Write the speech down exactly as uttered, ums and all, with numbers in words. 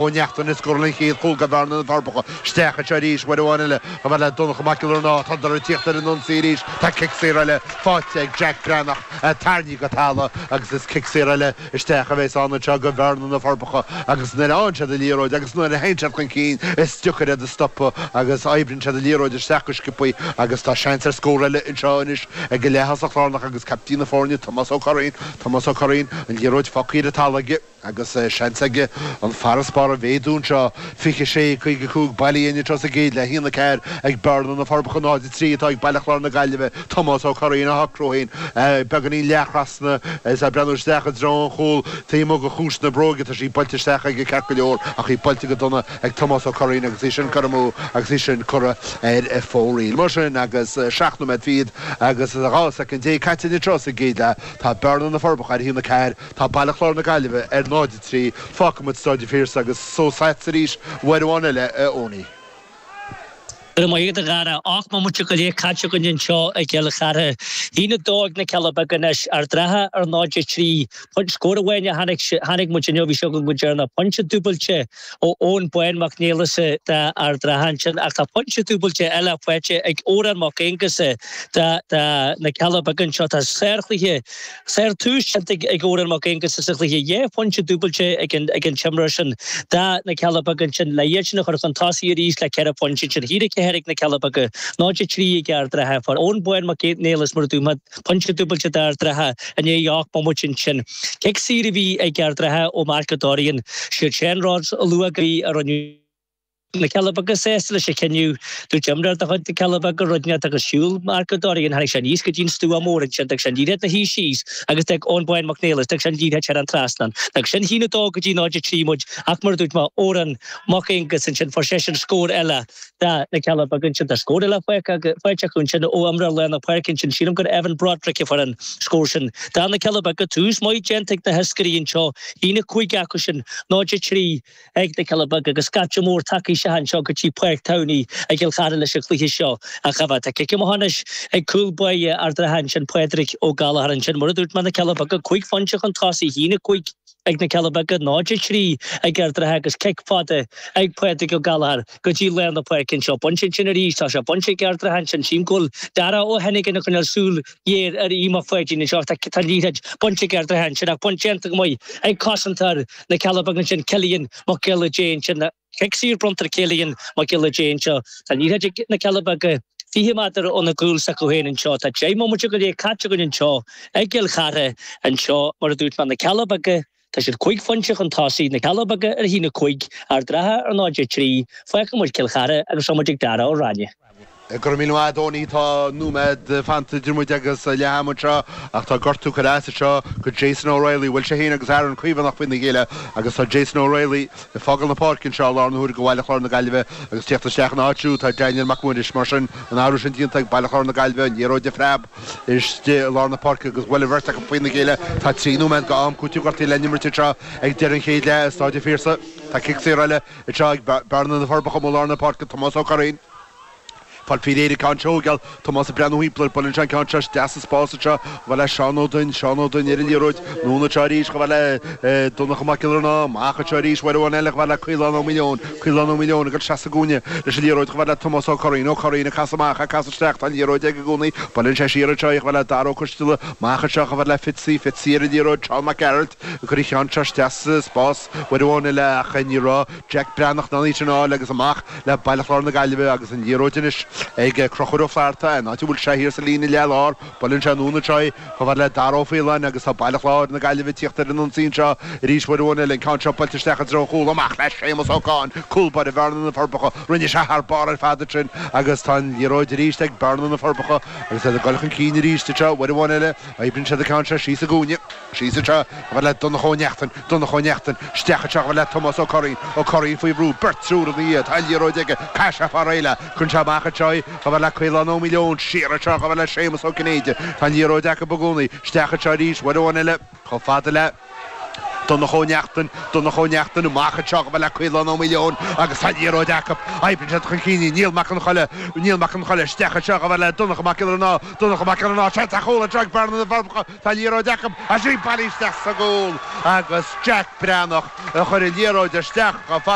Ó Neachtain ag scóráil an chéad chúl do Bhearna na Forbacha. Isteach anseo arís uair amháin eile chomh fada le Donncha Mac Giollarnáth. Tádar ag tíocht ar an ionsaí arís. Tá cic saor eile faighte ag Jack Breathnach. Tarraingthe go talamh agus is cic saor eile isteach a bheas ann anseo do Bhearna na Forbacha agus nuair a fhaigheann siad an liathróid agus nuair a théann siad chun cinn is deacair iad a stopadh agus oibríonn siad an liathróid isteach go sciobtha agus tá seans ar scór eile anseo anois ag an leath-thosach lárnach agus caiptín na foirne Tomás Ó Curraoin. Tomás Ó Curraoin, an liathróid fágtha ar an talamh aige. Agus seans aige an farasbarr a mhéadú anseo. fiche sé, caoga a cúig bailithe anseo sa gcéad leath, a haon a ceathair ag Bearna na Forbacha, náid a trí atá ag Baile Chláir na Gaillimhe. Tomás Ó Curraoin á shocrú féin beagáinín leath-thrasna is é ag breathnú isteach i dtreo an chúil taobh amuigh de chuas na bróige. Tá sí buailte isteach aige ceart go leor ach í buailte go dona ag Tomás Ó Curraoin agus í sin curtha amú agus í sin curtha ar fóraoil. Mar sin agus seacht nóiméad fichead agus dhá soicind déag caite anseo sa gcéad leath, tá Bearna na Forbacha ar a haon a ceathair. Tá Baile Chláir na Gaillimhe ar náid a trí. Fágfaidh muid Staid an Phiarsaigh agus suas leatsa arís uair amháin eile, a Eoiní. Go raibh maith agat, a Dhara. Ocht mbomaite go leith caite againn anseo i gCill Chartha. A haon a dó ag na Cealla Beaga anois, Ard an Rátha ar náid a trí. Scór amháin a chonaic muid inniu, bhí sé againn go deireanach. Pointe dúbailte ó Eoin Bán Mac Niallais d'Ard an Rátha ansin ach tá pointe dúbailte eile faighte ag Odhrán Mac Aonghusa do na Cealla Beaga anseo. Tá sárchluiche Sár-tús déanta ag Odhrán Mac Aonghusa sa chluiche. Dhá phointe dúbailte ag an t-imreoir sin do na Cealla Beaga ansin le iad sin a chur chun tosaigh arís le ceithre phointe ansin. A haon a ceathair ag na Cealla Beaga, náid a trí ag Ard an Rátha. Fuair Eoin Bán Mac Niallais mar a dúirt mé pointe dúbailte d'Ard an Rátha i ndiaidh ocht mbomaite ansin. Cic saor a bhí ag Ard an Rátha ó Mark Ó Dorrian. Siad Seán Rhodes a luadh go bhí a rinneadh. Na Cealla Beaga sásta leis an chinneadh. Dúirt imreoir de chuid na Cealla Beaga rud inteacht agus shiúil Mark Ó Dorrian, tháinig sé aníos go dtí an stua mór ansin, d'fhág sé an liathróid ina shuí síos agus d'fhág Eoin Bán Mac Niallais, d'fhág sé an liathróid thar an trasnán. D'fhág sin a haon a dó go dtí náid a trí muid ach mar a dúirt mé, Odhrán Mac Aonghusa ansin, fuair seisean scór eile do na Cealla Beaga ansin. Tá scór eile faighte acu ansin ó imreoir lár na páirce ansin, sílim gur Evan Broderick a fuair an scór sin do na Cealla Beaga. Tús maith déanta ag na hiascairí anseo, a haon a cúig acu sin, náid a trí. ag na Cealla Beaga agus scata mór tagtha isteach anseo go dtí Páirc Towney i gCill Chartha leis an chluiche seo a choimhéad. Tá cic amach anois ag cúl báire Ard an Rátha ansin, Pádraig Ó Gallchóir ansin. Mar a dúirt mé, na Cealla Beaga cúig phointe chun tosaigh, a haon a cúig ag na Cealla Beaga, náid a trí ag Ard an Rátha agus cic fada ag Pádraig Ó Gallchóir go dtí lár na páirce anseo. Bainte ansin arís, tá sé bainte ag Ard an Rátha ansin. Sílim go bhfuil Dara Ó hEinigin ag coinneáil súil ghéar ar Aodh Mac Pháidín anseo. Tá an liathróid bainte ag Ard an Rátha ansin ach baint déanta go maith ag cosantóir na Cealla Beaga ansin, Cillian Mac Giolla Dé ansin. Cic saor bronnta ar Cillian Mac Giolla Dé anseo. Tá an liathróid ag na Cealla Beaga fiche méadar óna gcúl s'acu féin anseo. Tá deich mbomaite go leith caite againn anseo i gCill Chartha anseo. Mar a dúirt mé, na Cealla Beaga, tá siad cúig phointe chun tosaigh, na Cealla Beaga ar a haon a cúig, Ard an Rátha ar náid a trí. Fágfaidh muid Cill Chartha agus rachaidh muid ag Dara Ó Ráinne. Go raibh míle maith agat, a Eoiní. Tá nóiméad fanta idir muid agus leath ama anseo ach tá gortú curtha as anseo go Jason O'Reilly. Bhuail sé féin agus Aaron Caomhánach faoina chéile agus tá Jason O'Reilly ag fágáil na páirce anseo i láthair na huaire do Bhaile Chláir na Gaillimhe agus tíocht isteach ina áit siúd tá Daniel Mac Muiris. Mar sin, an athrú sin déanta ag Baile Chláir na Gaillimhe, an liathróid ag preab istigh i lár na páirce agus bhuail an bheirt acu faoina chéile. Tá trí nóiméad go am cúitimh gortaithe le n-imirt anseo ag deireadh an chéad leath i Stáid an Phiarsaigh. Tá cic saor eile anseo ag Bearna na Forbacha amuigh i lár na páirce, Tomás Ó Curraoin. Fáil faoi réir an ceann seo a thógáil. Tomás ag breathnú thimpeall air. Buaileann sé an ceann seo isteach sa spás anseo. Chomh fada le Seán Ó Duinn. Seán Ó Duinn ar an liathróid. Anonn anseo arís chomh fada le Donncha Mac Giollarnáth. Amach anseo arís uair amháin eile chomh fada le Caolán Ó Maoileoin. Caolán Ó Maoileoin ag dul isteach sa gcúinne leis an liathróid chomh fada le Tomás Ó Curraoin. Ó Curraoin ag casadh amach, ag casadh isteach. Tá an liathróid aige i gcónaí. Buaileann sé siar anseo í chomh fada le Dara Ó Coisteala. Amach anseo chomh fada le Fitzy. Fitzy ar an liathróid. Seán Mac Gearailt ag cur an cheann seo isteach sa spás uair amháin eile ach ní raibh Jack Breathnach in ann í sin a fháil agus amach le Baile Chláir na Gaillimhe agus an liathróid anois ag Conchúr Ó Flatharta, an áit a bhfuil sé thiar sa líne leath-lár. Buaileann sé anonn anseo í chomh fada le Dara Ó Faoláin agus tá Baile Chláir na Gaillimhe ag tíocht ar an ionsaí anseo arís uair amháin eile. An ceann seo buailte isteach i dtreo an chúil, amach le Séamus Ó Cadhain, cúl báire Bhearna na Forbacha. Rinne sé thar barr ar fad ansin agus tá an liathróid arís ag Bearna na Forbacha agus iad ag dul chun cinn arís anseo uair amháin eile. Oibríonn siad an ceann seo síos sa gcúinne. Síos anseo chomh fada le Donncha Ó Neachtain, Donncha Ó Neachtain, isteach anseo chomh fada le Tomás Ó Curraoin, Ó Curraoin faoi bhrú, beirt triúr ina dhiaidh, tá an liathróid aige, caithfidh sé fáil réidh léi, cuireann sé amach anseo í chomh fada le Caolán Ó Maoileoin, siar anseo chomh fada le Séamus Ó Cinnéide, tá an liathróid acu i gcónaí, isteach anseo arís, uair amháin eile, chomh fada le. Donncha Ó Neachtain, Donncha Ó Neachtain amach anseo chomh fada le Caolán Ó Maoileoin agus tá liathróid acu. Oibríonn siad chun cinn í. Niall Mac Con Choille, Niall Mac Con Choille isteach anseo chomh fada le Donncha Mac Giollarnáth, Donncha Mac Giollarnáth, seans ar chúl anseo ag Bearna na bhForbacha. Tá liathróid acu agus í bailithe isteach sa gcúl agus Jack Breathnach a chuir an liathróid isteach chomh fada.